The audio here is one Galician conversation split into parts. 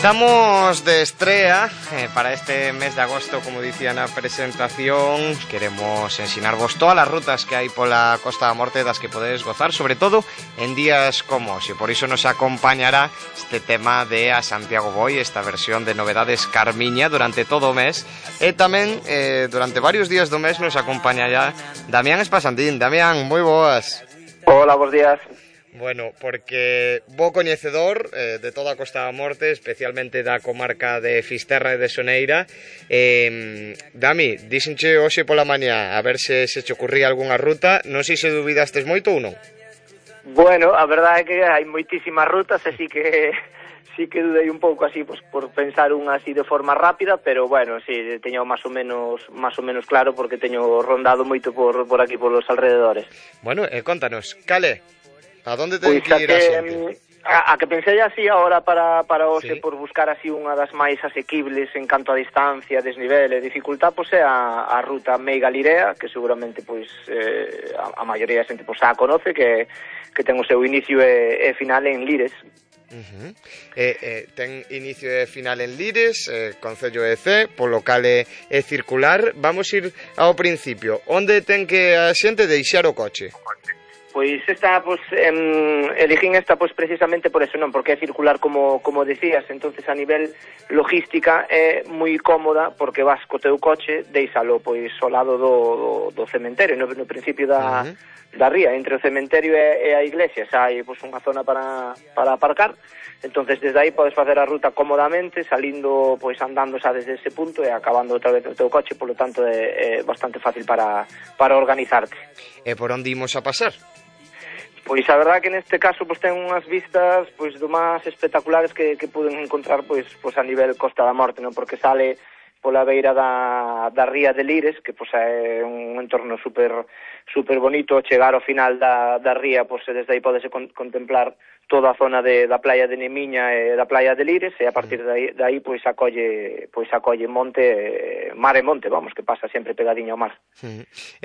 Estamos de estrella para este mes de agosto, como dicía na presentación. Queremos ensinarvos todas as rutas que hai pola Costa da Morte das que podedes gozar, sobre todo en días como hoxe. Por iso nos acompañará este tema de a Santiago Boi, esta versión de Novedades Carmiña durante todo o mes. E tamén durante varios días do mes nos acompañará Damián Espasandín. Damián, moi boas. Hola, bons días. Bueno, porque bo coñecedor de toda a Costa da Morte, especialmente da comarca de Fisterra e de Soneira. Dami, díxenche hoxe pola mañá a ver se che ocurría algunha ruta. Non sei se dubidastes moito ou non. Bueno, a verdade é que hai moitísimas rutas, así que sí que dudei un pouco así, pues, por pensar unha así de forma rápida, pero bueno, sí, teño máis ou menos claro porque teño rondado moito por aquí polos alrededores. Bueno, contanos, cale? A donde ten que ir a xente? A que pensei así agora para hoxe, Sí. por buscar así unha das máis asequibles en canto a distancia, desnivel e dificultad, pois é a ruta Meiga-Lirea, que seguramente pois a maioría da xente pois a conoce, que ten o seu inicio e final en Lires. Ten inicio e final en Lires, Concello de Cee, polo cal é circular. Vamos ir ao principio. Onde ten que a xente deixar o coche? Pois esta, pois, elegín esta pois precisamente por eso, non, porque é circular como decías, entonces a nivel logística é moi cómoda porque vas co teu coche, deixalo pois ao lado do cementerio, no principio da ría, entre o cementerio e a iglesia, xa hai pois unha zona para aparcar. Entonces desde aí podes facer a ruta cómodamente, salindo, pois andando xa desde ese punto e acabando outra vez no teu coche, polo tanto é bastante fácil para organizarte. E por onde imos a pasar? Pois a verdade que neste caso pois ten unhas vistas pois do máis espectaculares que puden encontrar pois a nivel Costa da Morte, non? Porque sale pola beira da ría de Lires, que pois é un entorno super bonito. Chegar ao final da ría, pois desde aí podese contemplar toda a zona da playa de Nemiña e da playa de Lires, e a partir de aí pois acolle monte, mar e monte, vamos, que pasa sempre pegadiño ao mar.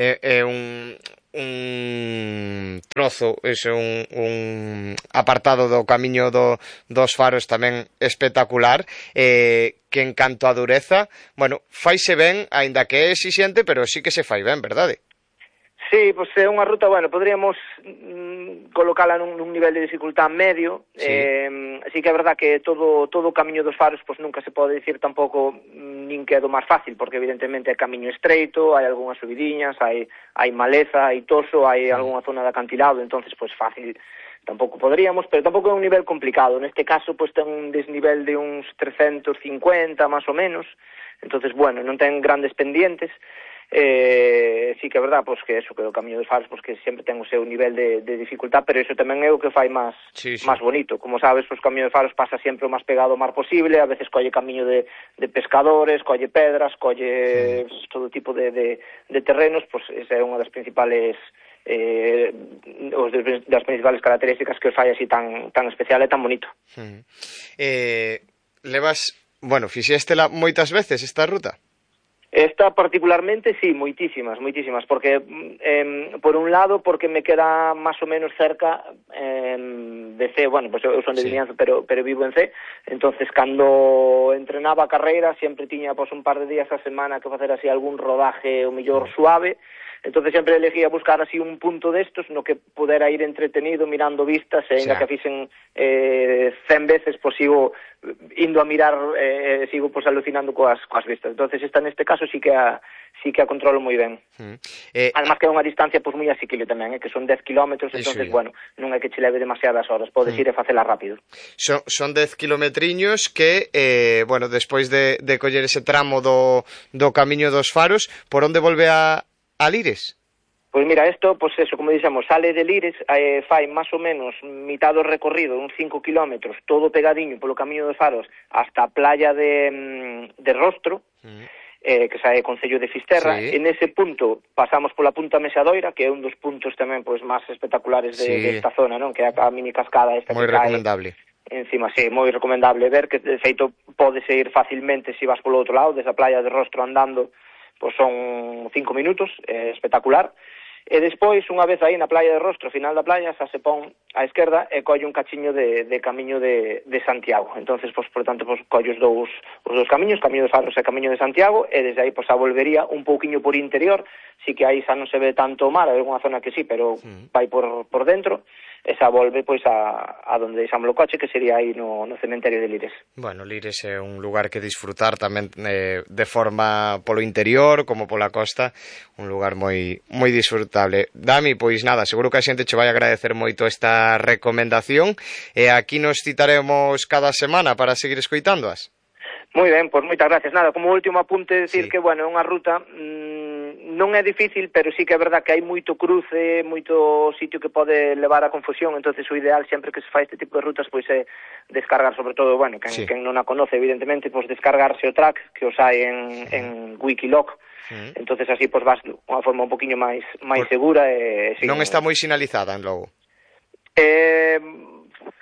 É un trozo, un apartado do camiño dos faros tamén espectacular, que en canto a dureza, bueno, faise ben, aínda que é exixente, pero sí que se fai ben, verdade? Sí, pois é unha ruta, bueno, podríamos colocala nun nivel de dificultad medio. Sí. Sí que é verdad que todo o camiño dos faros pois nunca se pode dicir tampouco nin que é do máis fácil, porque evidentemente é camiño estreito, hai algunhas subidiñas, hai maleza, hai toso, hai algunha zona de acantilado, entonces pois fácil tampouco poderíamos, pero tampouco é un nivel complicado. Neste caso pois ten un desnivel de uns 350 máis ou menos, entonces bueno, non ten grandes pendientes. Sí que é verdad, pois que eso, que o camiño dos faros, pois que sempre ten o seu nivel de dificultad, pero iso tamén é o que fai máis bonito. Como sabes, pois o camiño dos faros pasa sempre o máis pegado ao mar posible, a veces colle camiño de pescadores, colle pedras, colle todo tipo de terrenos, pois esa é unha das principales das principales características que os fai así tan especial e tan bonito. Fixéstela moitas veces esta ruta? Esta particularmente, sí, moitísimas, porque, por un lado, porque me queda máis ou menos cerca de Cee, bueno, pues eu son de Vimianzo, pero vivo en Cee, entonces, cando entrenaba a carreira, sempre tiña, pues, un par de días a semana que facer así algún rodaje, o mellor suave, entonces sempre elegía buscar así un punto destos no que pudera ir entretenido mirando vistas, e ainda que fixen 100 veces, pois sigo indo a mirar, sigo pois alucinando coas vistas. Entonces esta neste caso sí que a controlo moi ben. Además que é unha distancia pois moi asequible tamén, que son 10 kilómetros, entonces bueno, non é que che leve demasiadas horas, podes ir e facela rápido. Son 10 kilometriños que, bueno, despois de coller ese tramo do camiño dos faros, por onde volve a Lires? Pois mira, isto, pois eso, como dixemos, sale de Lires, fai máis ou menos mitad do recorrido, uns 5 kilómetros, todo pegadiño polo camiño dos faros, hasta a playa de Rostro, que sae Concello de Fisterra, e nese punto pasamos pola Punta Mesadoira, que é un dos puntos tamén pois máis espectaculares desta zona, non? Que é a mini cascada esta moi que cae recomendable. Encima, sí, moi recomendable ver, que de feito podes ir facilmente se vas polo outro lado, desde a playa de Rostro andando, pois son 5 minutos, espectacular. E despois, unha vez aí na playa de Rostro, final da playa, xa se pon á esquerda e colle un cachiño de camiño de Santiago. Entonces, pois, por tanto, pois, colle os dous camiños, camiño de Faros e camiño de Santiago, e desde aí, pois, a volvería un pouquiño por interior, si que aí xa non se ve tanto o mar, hai alguna zona que sí, pero vai por dentro, e xa volve, pois, a donde deixamos o coche, que sería aí no cementerio de Lires. Bueno, Lires é un lugar que disfrutar tamén de forma polo interior como pola costa, un lugar moi disfrutable. Dami, pois nada, seguro que a xente che vai agradecer moito esta recomendación e aquí nos citaremos cada semana para seguir escoitándoas. Moi ben, pois moitas gracias. Nada, como último apunte decir que, bueno, é unha ruta non é difícil, pero sí que é verdad que hai moito cruce, moito sitio que pode levar a confusión, entonces o ideal sempre que se fai este tipo de rutas pois é descargar, sobre todo, bueno, quen non a conoce, evidentemente, pois descargarse o track que os hai en Wikiloc. Entonces así pois vas unha forma un poquinho máis segura e non está moi sinalizada en Logo.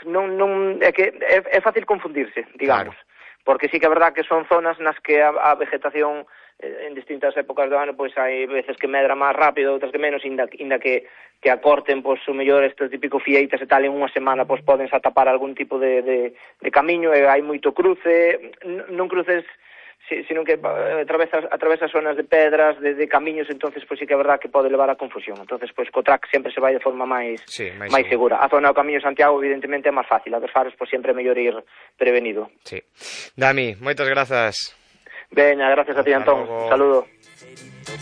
Non é que é fácil confundirse, digamos. Claro. Porque sí que é verdad que son zonas nas que a vegetación en distintas épocas do ano pois hai veces que medra máis rápido, outras que menos, inda que acorten pois o mellor estes típico fieitas e tal en unha semana pois poden xa tapar algún tipo de camiño e hai moito cruce, non cruces sino que atravesa zonas de pedras, de camiños, entonces pois sí que é verdad que pode levar a confusión. Entonces pois co track sempre se vai de forma máis segura. A zona do Camiño de Santiago evidentemente é máis fácil, a dos Faros pois sempre é mellor ir prevenido. Sí. Dami, moitas grazas. Veña, gracias a ti, Antón. Un saludo.